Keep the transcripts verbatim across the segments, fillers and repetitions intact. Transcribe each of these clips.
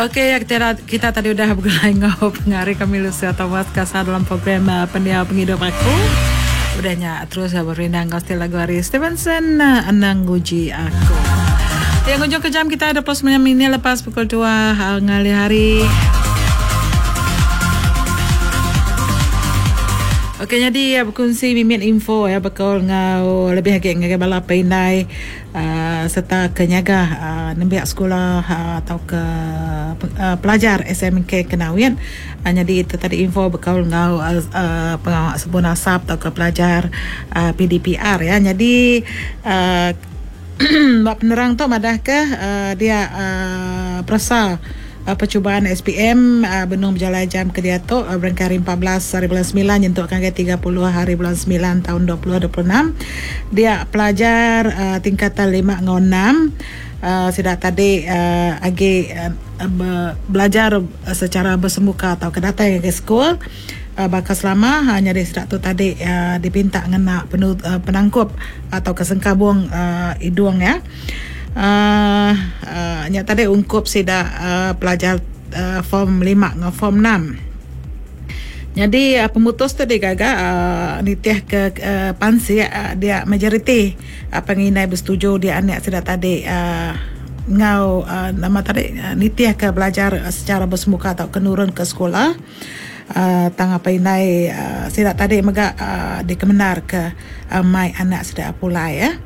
Okey, kita, kita tadi udah bergulai ngau pengari kami Lucia Thomas kasar dalam program uh, Pendiau Pengidup Aku. Udahnya terus uh, berindang kau lagu hari Stevenson uh, Anang Guji Aku. Yang ujung ke jam kita ada plus sembilan minit lepas pukul dua uh, ngalih hari. Okey, jadi ya, berkongsi mimin info ya bakal ngau lebih lagi ngagai bala pindai uh, serta kenyaga uh, nembiak sekolah uh, atau ke uh, pelajar S M K Kenawit. Uh, jadi itu tadi info bakal ngau uh, uh, pengawak sebun asap atau ke pelajar uh, P D P R ya. Jadi uh, bab penerang tu madah ke uh, dia uh, perasa Uh, percubaan S P M uh, benung berjalan jam ke dia tu uh, berangkat hari empat belas hari bulan sembilan nyentuk ke tiga puluh hari bulan sembilan tahun dua ribu dua puluh enam. Dia pelajar uh, tingkatan lima ngau enam uh, sidak tadi uh, agi uh, be- belajar secara bersemuka atau kedatai ke sekolah. Uh, bakal selama hanya di sidak tu tadi uh, dipinta ngena penu, uh, penangkup atau kesengkabung uh, hidung ya. Uh, uh, nya tadi ungkup sida uh, pelajar uh, form lima dengan form enam. Jadi uh, pemutus tu digaga uh, nitih ke uh, pansi uh, dia majoriti uh, penginai bersetuju dia anak sida tadi uh, ngau uh, nama tadi uh, nitih ke belajar uh, secara bersemuka atau kenurun ke sekolah. Uh, tang apa inai uh, sida tadi mega uh, dikemenar ke uh, mai anak sida pulai ya.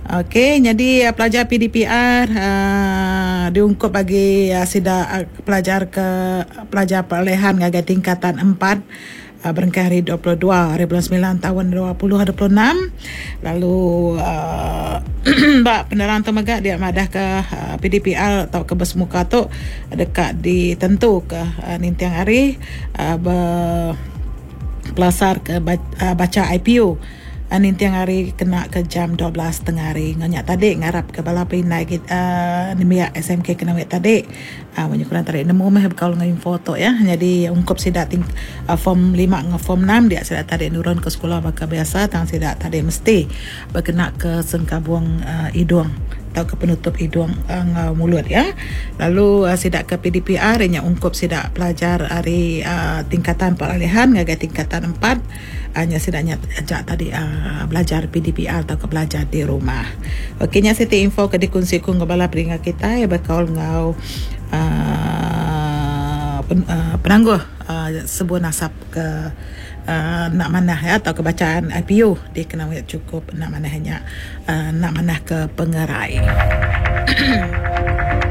Okey, jadi uh, pelajar P D P R uh, diungkup bagi uh, sida uh, pelajar ke pelajar peralihan ngagai tingkatan empat uh, berengkah hari dua puluh dua hari bulan sembilan tahun dua ribu dua puluh enam. Lalu uh, bak penerang tu mega dia madah ke uh, P D P R atau ke bersemuka tu dekat ditentu ke uh, nintiang hari uh, berpelasar ke ba- uh, baca I P U. Nintiang hari kena ke jam dua belas tengah hari. Nganyak tadi ngarap ke bala pinai kita uh, nemiak S M K kena wet tadi. Ah uh, banyak kurang tarik nemu meh bekal dengan info tu ya. Jadi ungkup sidak ting, uh, form lima dengan form enam dia sidak tadi nurun ke sekolah bakal biasa tang sidak tadi mesti berkena ke sengkabung uh, hidung atau ke penutup hidung uh, mulut ya. Lalu uh, sidak ke P D P R nya ungkup sidak pelajar hari uh, tingkatan peralihan ngagai tingkatan empat hanya uh, sidaknya ajak tadi uh, belajar P D P R atau ke belajar di rumah. Okey nya siti info ke dikunsi ku ngabala peringat kita ya bakal ngau uh, pen, uh, penangguh uh, sebuah nasab ke Uh, nak manah ya atau kebacaan I P U di kena cukup nak manahnya uh, nak manah ke pengerai.